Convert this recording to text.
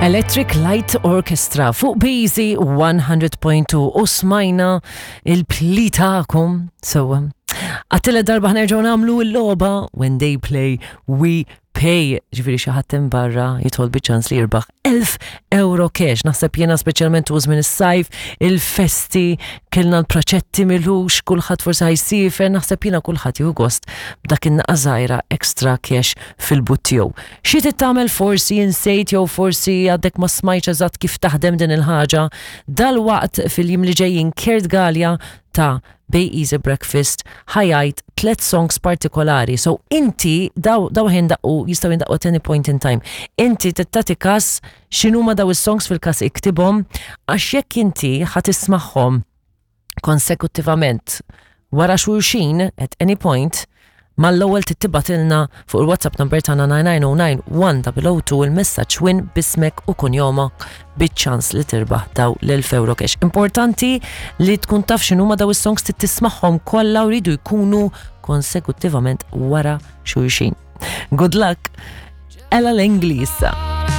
Electric Light Orchestra fuq Busy 100.2 u smajna il-pli tagħkom. So, għattile darba ħnerġgħu nagħmlu l-logħba When They Play We Pay. Ġifieri xi ħadd hemm barra jidħol biċ-ċans li jirbaħ 1000 euro cash. Naħseb jiena speċjalment u żmien is-sajf, il-festi, kellna l-praċetti milux, kulħadd forsi ħajsiefer, naħseb jiena kulħadd jieħu gost b'dak in-naqa żgħira extra cash fil-but tiegħu. Xi trid tagħmel forsi insejt jew forsi għadek ma smajtx eżatt kif taħdem din il-ħaġa, dalwaqt fil-jiem li ġejjin Kurt Galea ta' Bay Easy Breakfast ħa jgħid tlet songs partikolari. So inti daw daw ħindaqqu jistgħu jindaqqu at any point in time. Inti trid tagħti każ x'inhuma daw is-songs fil-każ iktibhom għax jekk inti ħa tismagħhom konsekutivament wara xulxin at any point mal-ewwel tibgħatilna fuq il-WhatsApp number tagħna 9909 1002 il-messaġġ win b'ismek u kunjomok biċ-ċans li tirbaħ daw l-1000 euro cash. Importanti li tkun taf x'inhuma daw is-songs trid tismagħhom kollha u jridu jkunu konsekutivament wara xulxin. Good luck! Ella Langley issa.